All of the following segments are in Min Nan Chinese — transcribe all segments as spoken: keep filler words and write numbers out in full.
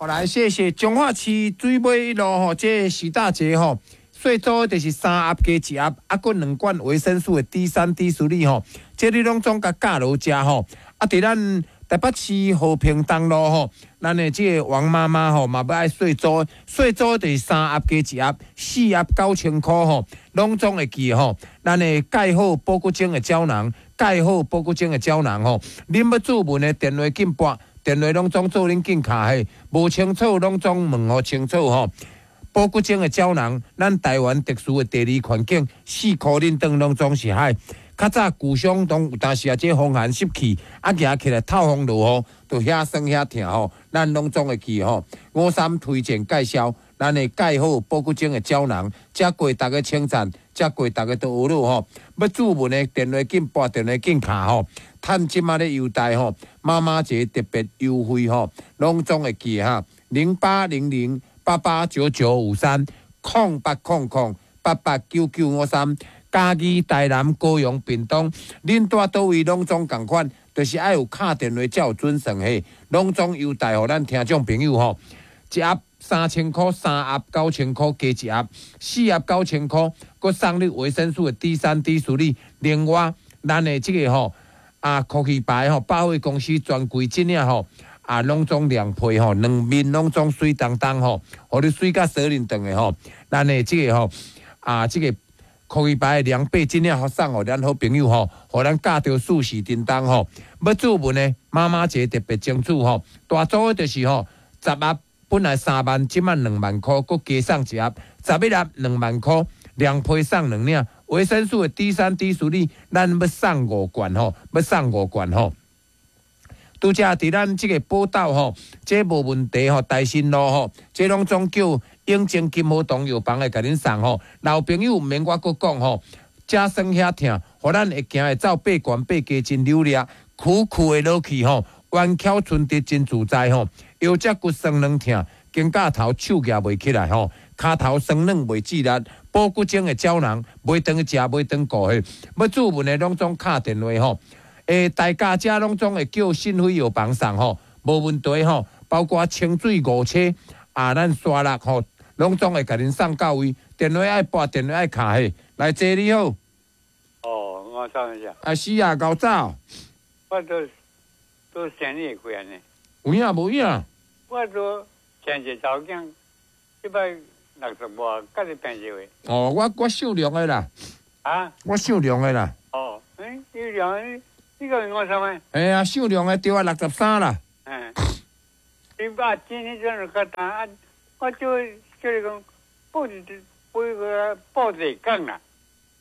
來謝謝彰化市水尾一路吼，這個許大姐吼，細組就是三盒加一盒，啊，閣兩罐維生素的 D 三、D 四吼，這你攏總共佮落食吼。啊，佇咱台北市和平東路吼，咱的這個王媽媽吼嘛欲愛細組，細組就是三盒加一盒，四盒九千箍吼，攏總會記吼。咱的蓋好保骨精的膠囊，蓋好保骨精的膠囊吼，恁欲注文的電話緊撥。電話攏總做恁緊敲嘿，無清楚攏總問予清楚吼。保骨精的膠囊，咱台灣特殊的地理環境，四箍恁轉攏總是海。較早舊傷當有當時啊，這風寒濕氣，啊行起來透風落雨，就遐酸遐疼吼。咱攏總會記吼。五三推薦介紹，咱的蓋好保骨精的膠囊，遮過逐家稱讚，遮過逐家都學了吼。欲注文的電話緊撥，電話緊敲吼。趁這馬咧優待吼，媽媽節特別優惠吼，攏總會記哈，零八零零八八九九五三，空八空空八八九九五三，嘉義、台南、高雄、屏東，恁蹛佗位攏總仝款，就是愛有敲電話才有準算嘿，攏總優待予咱聽眾朋友吼，一盒三千箍，三盒九千箍加一盒，四盒九千箍，閣送你維生素的 D 三、D 四另外，咱的這個吼。啊，科技牌吼，百貨公司專櫃這領吼，啊，攏總兩配吼，兩面攏總媠當當吼，予你媠甲鎖輪轉的吼。咱的這個吼，啊，這個科技牌的涼被這領予送予咱好朋友吼，予咱佮著四時叮當吼。欲注文的媽媽節特別爭取吼，大組的就是吼，十盒本來三萬，這馬兩萬箍，閣加送一盒，十一盒兩萬箍，兩批送兩領。維生素的 D 三、D 四，咱欲送五罐吼，欲送五罐吼。拄才佇咱這個寶島吼，這無問題吼，大新路吼，這攏總叫永靖金和堂藥房會共恁送吼。老朋友毋免我閣講吼，遮酸遐疼，予咱會行會走爬懸爬低真溜掠，苦苦的落去吼，彎翹伸直真自在吼，腰脊骨酸軟疼，肩胛頭手舉袂起來吼，跤頭酸軟袂致力。保骨精的膠囊，袂當食，袂當顧嘿，欲注文的攏總敲電話吼。欸，大家遮攏總會叫信輝藥房送吼，無問題吼。包括清水五車啊，咱沙鹿吼，攏總會共恁送到位。電話愛撥，電話愛敲嘿。來，坐你好。哦，我上一下。啊是啊，𠢕早。我都都生日過呢。有影無影？我都前一查某囝，這擺六十外，佮你平一位。哦，我我姓梁的啦。啊？我姓梁的啦。哦，欸，你梁，你講我啥物？哎呀，姓梁的對啊，六十三啦。嗯。你把今天這樣較單，我就就是講報報個報地港啦。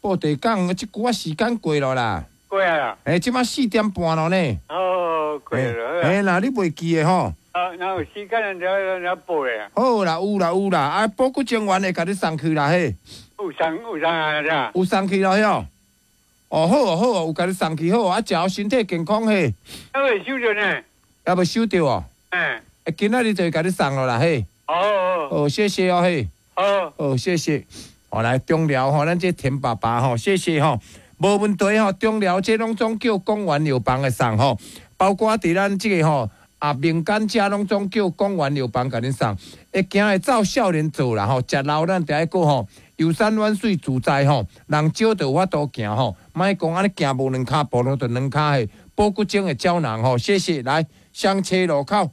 報地港，這久仔時間過了啦。過啊。欸，這馬四點半了呢。哦，過了。欸，那你袂記得吼？啊，那有時間就就報的。好啦，有啦有啦，啊，保骨精丸會共你送去啦嘿。有送有送啊，這。有送去了喲。哦，好哦好哦，有共你送去好，啊，食予身體健康嘿。還未收著呢。還未收著哦。嗯。欸，今仔日就會共你送了啦嘿。哦。哦，謝謝哦嘿。好。哦，謝謝。哦，來中寮吼，咱這田爸爸吼，謝謝吼，無問題吼，中寮這攏總叫廣元藥房會送吼，包括佇咱這個吼。啊，民間遮攏總叫廣元藥房共恁送，會行會走少年做啦吼，食老咱著愛閣吼，遊山玩水自在吼，人少就有法度行吼，莫講按呢行無兩跤步，攏著兩跤嘿，保骨精的膠囊吼，謝謝，來雙車路口。